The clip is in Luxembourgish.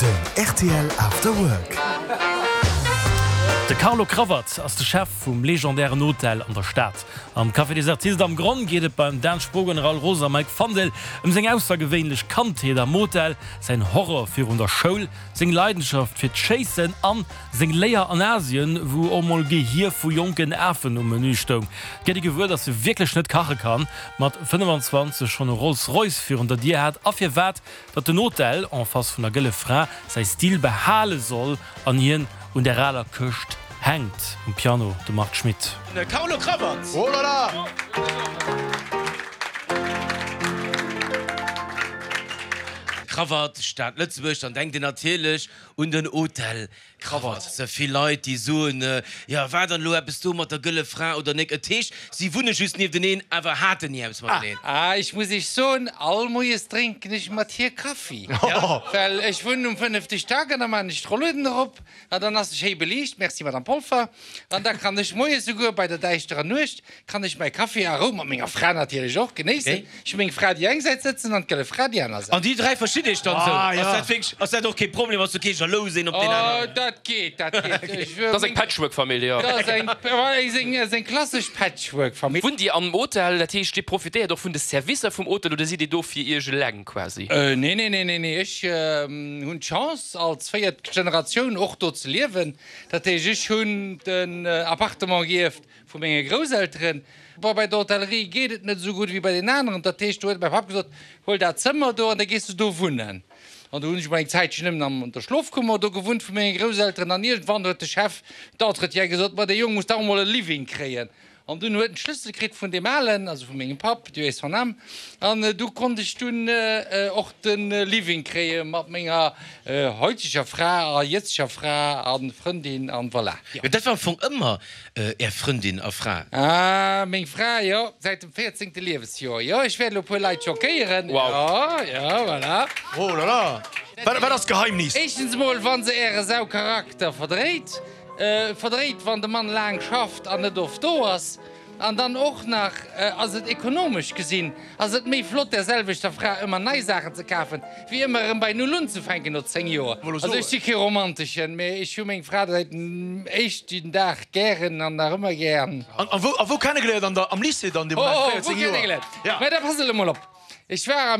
Den rtl After Work. De Carlo Cravat ass de Chef vum legendären Hotel an der Stad. Am Café des Artistes am Gronn geet et beim Dan Spogen, Raoul Roos a Mike Fandel ëm seng aussergewéinlech Kandheet am Hotel, säin Horror virun der Schoul, seng Leidenschaft fir d'Schéissen an seng Léier an Asien, wou och mol Gehier vu jonken Afen um Menü stoung. Et gëtt ee gewuer, datt e wierklech net kache kann, mat 25 schonn e Rolls Royce virun der Dier hat a firwat datt den Hotel en face vun der Gëlle Fra säi Stil behale soll an hien un der aler Këscht hänkt. Um Piano de Marc Schmitt. De Carlo Cravat. Oh là là! Cravat, Stad Lëtzebuerg, dann denkt een natierlech un den Hotel Krawatt. Ze vill Leit déi soen, jo war dann elo eppes do mat der gëlle Fra oder nek? Et heescht si wunne just niefteneen awer haten ni eppes mateneen. Ah, ech muss iech soen, all Moies drénken ech mat hir Kaffi, well ech wunnen um fënnefte Stack an da maan ech d'Rolluden erop an dann ass se schéi beliicht, merci Madame Polfer, an da kann ech moies souguer bei der däischterer Nuecht kann ech mäi Kaffi a Rou, mat menger Fra natierlech och, genéissen. Ech hu meng Fra déi eng Säit sëtzen an d'gëlle Fra déi aner Säit. An déi 3 verstitt iech dann esou? Ass dat wierklech, ass dat och kee Problem? Ass do kee jalous een op deen aneren? Oh, dat geet, dat geet. Dat ass eng Patchwork-Famill, jo. Dat ass eng, ass eng klassesch Patchwork-Famill. Wunnt Dir am Hotel? Dat heescht, Dir profitéiert och vun de Servicer vum Hotel oder sidd Dir do fir Iech eleng quasi? Nee, nee, nee, nee, nee. Ech hunn d'Chance, als véiert Generatioun och do ze liewen. Dat heescht, ech hunn den Appartement gierft Vu menge Grousselteren. Bon, bei der Hotellerie geet et net esou gutt wéi bei den aneren. Dat heescht, do huet mäi Papp gesot, Huel dat Zëmmer do an da gees de do wunnen. An do hunn ech mol eng Zäitchen nëmmen an der Schlofkummer do gewunnt vu menge Grousselteren. An iergendwann huet de Chef d'entretien gesot, Ma dee Jong muss dach emol e Living kréien. An dunn huet en d'Schlëssel kritt vun deem Alen, also vu mengem Papp, Dieu ait son âme. An du konnt ech dunn och de Living kréie mat menger heuteger Fra a jëtzeger Fra a Frëndin an voilà. Jo, dat war am Fong ëmmer Är Frëndin a Fra? Ah, meng Fra, jo, säit dem véierzéngte Liewesjoer, jo. Ech wäert elo e puer Leit schockéieren, jo, jo, voilà. Oh la la, wat ass d'Geheimnis? Éischtens emol, wa se äre Saucharakter verdréit, verdréit, wann de Mann laang schafft an net oft do ass. An dann och nach ass et ekonomesch gesinn ass et méi flott där selwechter Fra ëmmer nei Saachen ze kafen, wéi ëmmer erëm bei Null unzefänken no 10 Joer. Also ech si kee Romanteschen, mee ech hu meng Fra säit dem éischten Dag gären an nach ëmmer gär. An wou kennegeléiert? An der am Lycée dann dee Moment, 14 Joer? Wou kennegeléiert? Mä da pass elo mol op, ech war am.